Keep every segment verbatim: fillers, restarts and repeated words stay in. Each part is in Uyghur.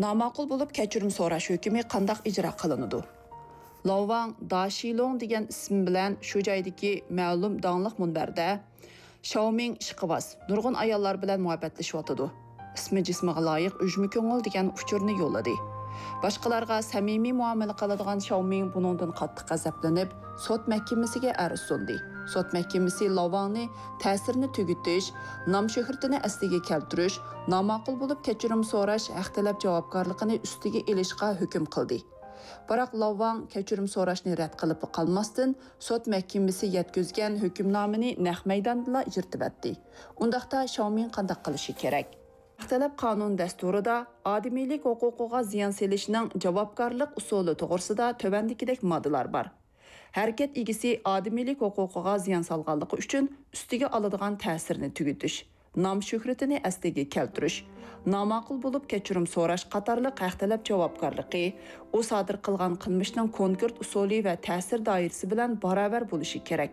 ناماقۇل بولۇپ كەچۈرۈم سوراش ھۆكمى قانداق ئىجرا قىلىنىدۇ؟ لاۋ ۋاڭ داشىلوڭ دېگەن ئىسىم بىلەن شۇ جايدىكى مەلۇم داڭلىق مۇنبەردە شاۋمىڭ ئىشقىۋاز، نۇرغۇن ئاياللار بىلەن مۇھەببەتلىشىۋاتىدۇ. ئىسمى جىسمىغا لايىق ئۈجمە كۆڭۈل دېگەن ئۇچۇرنى يوللىدى. باشقىلارغا سەمىمىي مۇئامىلە قىلىدىغان شاۋمىڭ بۇنىڭدىن قاتتىق غەزەپلىنىپ، سوت مەھكىمىسىگە ئەرز سۇندى. سوت مەھكىمىسى لاۋ ۋاڭنى تەسىرنى تۈگىتىش، نام شۆھرىتىنى ئەسلىگە كەلتۈرۈش، ناماقۇل بولۇپ كەچۈرۈم سوراش ھەق تەلەپ جاۋابكارلىقىنى ئۈستىگە ئېلىشقا ھۆكۈم قىلدى. بىراق لاۋ ۋاڭ كەچۈرۈم سوراشنى رەت قىلىپلا قالماستىن، سوت مەھكىمىسى يەتكۈزگەن ھۆكۈمنامىنى نەق مەيداندىلا ئىجرىتىۋەتتى. ئۇنداقتا شاۋمىڭ قانداق قىلىشى كېرەك؟ ھەق تەلەپ قانۇن دەستۇرىدا ئادىمىيلىك ھوقۇقىغا زىيان سېلىشنىڭ جاۋابكارلىق ئۇسۇلى توغرىسىدا تۆۋەندىكىدەك ماددىلار بار. ھەرىكەت ئىگىسى ئادىمىيلىك ھوقۇقىغا زىيان سالغانلىقى ئۈچۈن ئۈستىگە ئالىدىغان تەسىرنى تۈگىتىش، نام شۆھرىتىنى ئەسلىگە كەلتۈرۈش، ناماقۇل بولۇپ كەچۈرۈم سوراش قاتارلىق ھەق تەلەپ جاۋابكارلىقى، ئۇ سادىر قىلغان قىلمىشنىڭ كونكرېت ئۇسۇلى ۋە تەسىر دائىرىسى بىلەن باراۋەر بولۇشى كېرەك.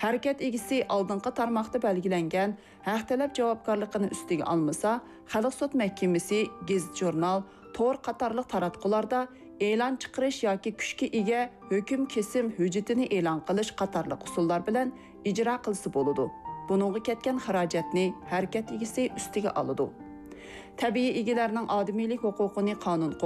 ھەرىكەت ئىگىسى ئالدىنقى تارماقتا بەلگىلەنگەن ھەق تەلەپ جاۋابكارلىقىنى ئۈستىگە ئالمىسا، خەلق سوت مەھكىمىسى، گېزىت-ژۇرنال، تور قاتارلىق تاراتقۇلاردا ئېلان چىقىرىش ياكى كۈچكە ئىگە ھۆكۈم كېسىم ھۆججىتىنى ئېلان قىلىش قاتارلىق ئۇسۇللار بىلەن ئىجرا قىلسا بولىدۇ. بۇنىڭغا كەتكەن خىراجەتنى ھەرىكەت ئىگىسى ئۈستىگە ئالىدۇ. تەبىئىي ئىگىلەرنىڭ ئادىمىيلىك ھوقۇقىنى قانۇن قوغدايدۇ.